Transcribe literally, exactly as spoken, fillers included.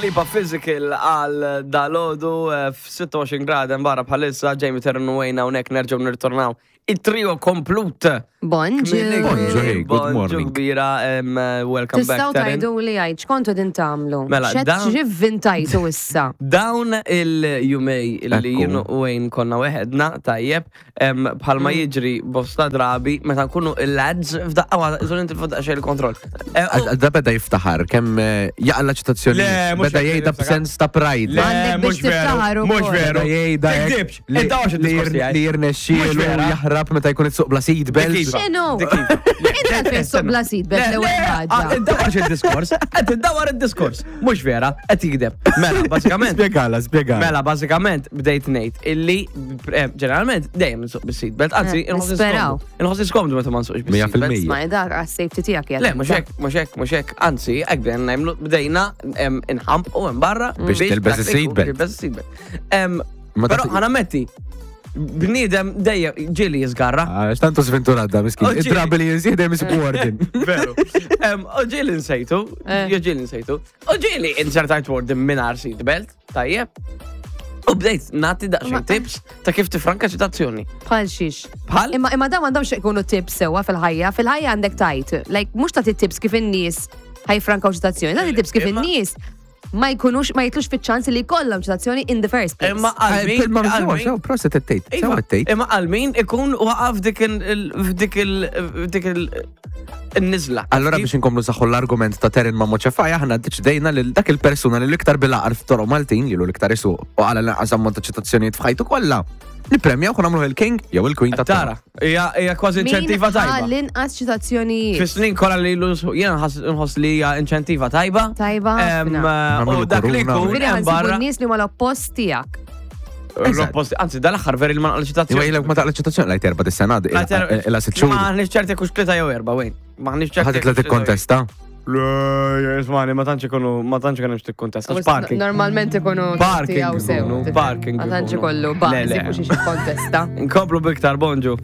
Lipa, Physical għal dalgħodu f-sitta u għoxrin grad barra bħalissa. Jamie, Terren u Wayne hawnhekk, nerġgħu nirtornaw. Il-trio komplut. Bonġu. Bonġu, hey, good Bonġu morning. kbira, em, welcome back, Tistgħu Taryn. tgħidu li għajd, x'kontu din tagħmlu? Mela, Xed dawn- x'ivvintajtu issa? Dawn il-jumejn illi Ekku. jien u Wayne konna weħedna, tajjeb, em, bħalma Mm. jiġri bosta drabi, meta nkunu il-lads, f'daqqa waħda, iżol inti f'daqqa il-kontroll. Eh, u- Da beda jiftaħar, kemm eh, jaqla ċitazzjoni. Le, mhux Beda hekk jgħidha niftakar. b'sens ta' pride. Le, Għandek biex mhux veru, tiftaħar mhux ukoll. veru. Beda jgħidha hekk Tikdibx, li- id-dawx li id-diskors jir- tiegħi. li jirnexxielu Mhux vera. jaħrab meta jkun isuq bla seat belt. Dik iva. X'inhu? Dik iva. Inti għalfejn suq bla seat belt Le, l-ewwel le, ħaġa. ah, Iddawar il-diskors, qed iddawar il-diskors. Mhux vera, qed jikdeb. Mela, bażikament. Spjegala, spjegala. Mela, bażikament bdejt ngħid illi eh, ġeneralment dejjem nsuq bis-seat belt, anzi Eh, inħoss nisperaw. skomdu. Inħoss skomdu meta ma nsuqx Mija bis-seat belt. fil-mija. Ma dak għas-safety tiegħek jgħid. Le, mhux hekk, mhux hekk, mhux hekk, anzi, hekk bdejna nagħmlu, bdejna em, inħampqu hemm barra Biex tilbes dak li is-seat jkun belt. tilbes is-seat belt. Em, Ma Però taf- ħa nammetti, bniedem dejjem ġieli jiżgarra. Għax tantu sventurat da, miskin. Oh, ġieli. Id-drabi li jinsieħ dejjem isibu warden. Veru. Em, U ġieli nsejtu, Eh. jo ġieli nsejtu. U ġieli insertajt warden mingħajr seat belt, tajjeb. U bdejt nagħti daqsxejn Ma- tips ta' kif tifranka ċitazzjoni. Bħal xiex. Bħal? Imma imma dawn m'għandhomx ikunu tips sewwa fil-ħajja. Fil-ħajja għandek tajt. Like mhux tagħti tips kif in-nies ħa jiffrankaw ċitazzjoni. Tagħti tips kif Imma- in-nies ma jkunux ma jitlux fiċ-ċans li jkollhom ċitazzjoni in the first place. Imma għal min? Ma għal min- sew, proset it-tejt. Sew Iva, it-tejt. Imma għal min ikun waqaf dik il- f'dik il- f'dik il- il-nizla. Allora biex inkomlu saħħu l-argument ta' Terin ma' Moċefaj, aħna deċidejna li dak il-persuna li l-iktar bil-aqar f'toroq Maltin, li l-iktar isuq u għala l-anqas ammont ta' ċitazzjonijiet f'ħajtu kollha. Nipremjaw kun nagħmlu il-king jew il-queen ta' Tara, hija hija kważi Min inċentiva ħa tajba. l-inqas ċitazzjonijiet. Fis-snin kollha li lu jiena nħoss nħoss li hija inċentiva tajba. Tajba Em, ħafna. U Nagħmlu dak li kuruna. jkun Ġifieri hemm ħa nsibu barra. n-nies li huma l-oppost tiegħek. L-opposti, anzi, dal-aħħar veri li ma naqla Iwa ċitazzjoni. jilek ma taqla ċitazzjoni lajt erba dis-sena, ila sitt xhur. Ma ħniex ċerti kux tlieta jew erba, wejn. Ma ħniex ċerti. Ħadd titla tikkontesta. Le, ismani, ma tantx ikunu, ma tantx ikunu tikkontesta. Parking. Normalment ikunu Parking tiegħu sew. ikunu, parking Ma tantx ikunu. ikollu Le, bażi le. fuq xiex jikkontesta. Nkomplu biktar, bonġu.